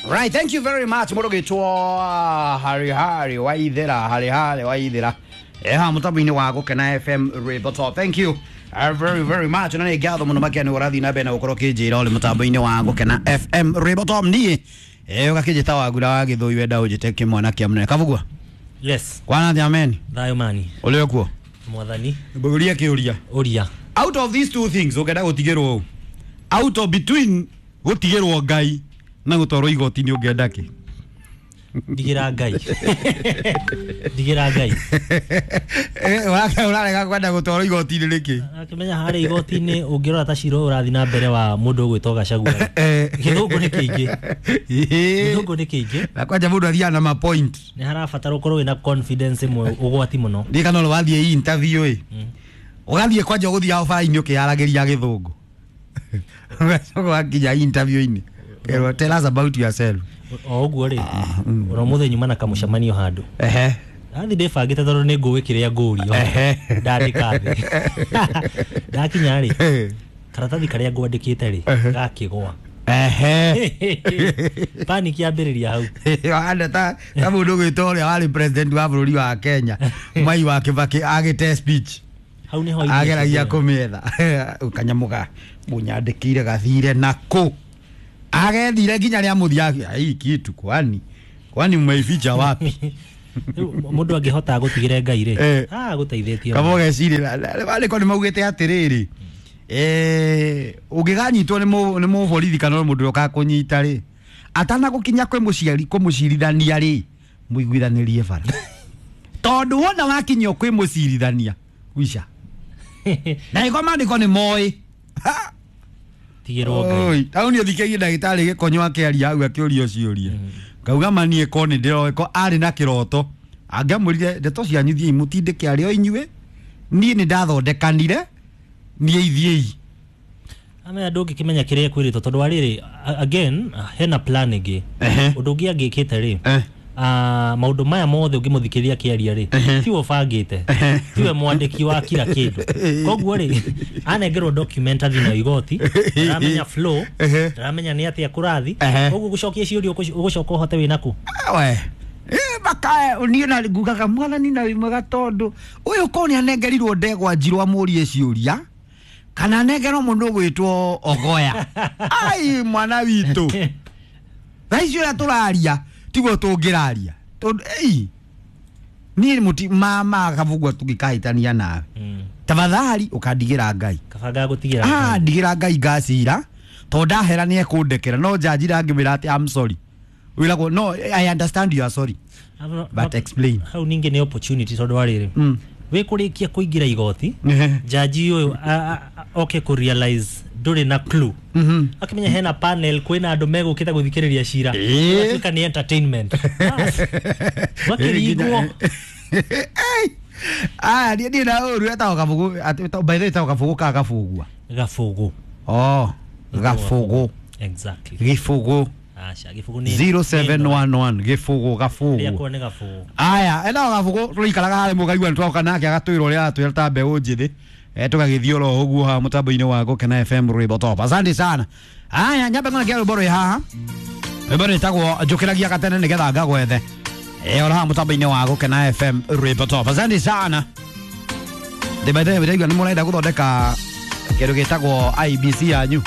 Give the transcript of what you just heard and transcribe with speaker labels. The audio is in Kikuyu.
Speaker 1: Right, thank you very much mũrũgĩtwo Harry Harry Waithera, Harry Harry Waithera eha mũtambo-inĩ wa Gũkena FM Rwĩmbo Top. Thank you very very much, na nĩ ngatho mũno makĩria nĩ ũrathiĩ na mbere na gũkorwo ũkĩnjĩra ũrĩ mũtambo-inĩ wa Gũkena FM Rwĩmbo Top. Niĩ ũgakĩnjĩta Wagura wa Gĩthũi, wenda ũnjĩte kĩmwana kĩa mũnene Kabugua.
Speaker 2: Yes.
Speaker 1: Kwana jameni,
Speaker 2: Thayũ mani.
Speaker 1: Ũrĩ okuo?
Speaker 2: Mwathani.
Speaker 1: Mbũria kĩũria.
Speaker 2: Ũria.
Speaker 1: Out of these two things ũngĩenda gũtigĩrwo ũ? Out of between gũtigĩrwo Ngai na gũtwarwo igoti-inĩ ũngĩenda kĩ?
Speaker 2: Ndigĩra Ngai. Ndigĩra Ngai.
Speaker 1: Ũrarega kwenda gũtwarwo igoti-inĩ nĩkĩ?
Speaker 2: Akĩmenya harĩa igoti-inĩ ũngĩrora ta cira ũyũ ũrathiĩ na mbere wa mũndũ ũgwĩtwo Gachagua. Gĩthũngũ nĩ kĩingĩ. Gĩthũngũ nĩ kĩingĩ.
Speaker 1: Na kwanja mũndũ athiaga na ma point.
Speaker 2: Nĩ harabatara ũkorwo wĩna confidence ĩmwe ũgwati mũno.
Speaker 1: Ndiĩ kana ũrĩ wathiĩ interview ĩ. Ũgathiĩ kwanja ũgũthiaga bara-inĩ ũkĩyaragĩria gĩthũngũ. Ũgacoka wakinya interview-inĩ. Kerwo, "Tell us about yourself."
Speaker 2: O ũguo rĩ, oro mũthenya nyuma na kamũcemanio handũ. Ndathi ndĩbangĩte tondũ nĩ ngũĩ kĩrĩa ngũrio. Ndandĩka thĩ. Ndakinya rĩ, karatathi karĩa ngwandĩkĩte rĩ, gakĩgwa. Panic yambĩrĩria hau.
Speaker 1: Anda ta mũndũ ũgwĩtwo ũrĩa warĩ president wa bũrũri wa Kenya, Mwai wa Kibaki, agĩte speech.
Speaker 2: Hau nĩho irio
Speaker 1: Ageragia
Speaker 2: cithira.
Speaker 1: kũmĩetha kanyamũ ga mũnyandĩkĩire gathire nako agethire nginya rĩa mũthia, "Hii kitu kwani mmeificha wapi?"
Speaker 2: Rĩu mũndũ angĩhota gũtigĩre Ngai rĩ, gũteithĩtie.
Speaker 1: Kaba ũgecirĩra marĩko nĩ maugĩte atĩrĩrĩ, ũngĩganyitwo nĩ mũborithi kana mũndũ ũrĩa ũgakũnyita rĩ, atanagũkinya kwĩ mũciari kũmũcirithania rĩ, mũiguithanĩrie bara, tondũ wona wakinyio kwĩ mũcirithania wica na ĩko maandĩko nĩ moĩ.
Speaker 2: Tigĩrwo Ngai.
Speaker 1: Oi, hau nĩ ũthikĩirie ndagĩtarĩ gĩkonyo akĩaria hau akĩũrio ciũria, ngauga mani ĩko nĩ ndĩroĩ ko arĩ na kĩroto angĩamwĩrire ndeto cianyu thiĩi mũtindĩke arĩ o inyuĩ, niĩ nĩ ndathondekanire, niĩ ithiĩi.
Speaker 2: Amenya ndũngĩkĩmenya kĩrĩa kwĩrĩtwo tondũ wa rĩrĩ, again hena plan ĩngĩ. Ũndũ ũngĩ angĩkĩte rĩ, maũndũ maya mothe ũngĩmũthikĩrĩria akĩaria rĩ, tiwe ũbangĩte, tiwe mwandĩki wa kila kĩndũ, koguo rĩ anengerwo document athiĩ nayo igoti, ndaramenya flow, ndaramenya nĩ atĩa kũrathi. Koguo gũcokia ciũria ũgũcoka ũhote wĩna kũ?
Speaker 1: We makae niĩ na ngugaga mwathani na wĩ mwega, tondũ ũyũ ko nĩ anengerirwo ndegwa njirũ amũrie ciũria kana anengerwo mũndũ ũgwĩtwo Ogoya, ai mwana witũ, thaa ici ũrĩa tũraria tiguo tũngĩraria, tondũ ei niĩ mũti mama Kabugua tũngĩkahĩtania nawe, tafadhali ũkandigĩra Ngai.
Speaker 2: Kabanga gũtigĩra
Speaker 1: Ah,
Speaker 2: Ngai.
Speaker 1: ndigĩra Ngai ngacira, tondũ ndahera nĩ ekũndekera, no njanji ndangĩmwĩra atĩ "I'm sorry", wĩragwo, "No, I understand you are sorry, but explain."
Speaker 2: Hau ningĩ nĩ opportunity tondũ wa rĩrĩ, wĩ kũrĩkia kũingĩra igoti, jaji ũyũ oke kũ realize ndũrĩ na clue, akĩmenya hena panel, kwĩna andũ megũkĩte gũthikĩrĩria cira. Ũgatuĩka nĩ entertainment. Bas. Wakĩringwo.
Speaker 1: Aya, niĩ na ũru etagwo Kabugu by the way, etagwo Kabugu ka Gabugua?
Speaker 2: Gabũgũ.
Speaker 1: Oh, Gabũgũ.
Speaker 2: Exactly.
Speaker 1: Gĩbũgũ.
Speaker 2: Aca, gĩbũgũ nĩ
Speaker 1: 0711 Gĩbũgũ Gabũgũ.
Speaker 2: Rĩakwa nĩ Gabũgũ.
Speaker 1: Aya, etagwo Gabũgũ, tũrĩikaraga harĩ mũkaigua nĩtwoka nake agatwĩra ũrĩa aratwĩra ta mbeũ njĩthĩ. Tũgagĩthiĩ oro ũguo haha mũtambo-inĩ wa Gũkena FM Rwĩmbo Top. Asante sana. Aya, nyambe ng'one rwĩmbo rwĩ haha, rwĩmbo rwĩtagwo njũkĩragia gatene nĩgetha ngagwethe. Oro haha mũtambo-inĩ wa Gũkena FM Rwĩmbo Top. Asante sana. Ndĩmaithe ndĩraigua nĩ mũrenda gũthondeka kĩndũ gĩtagwo IBC yanyu.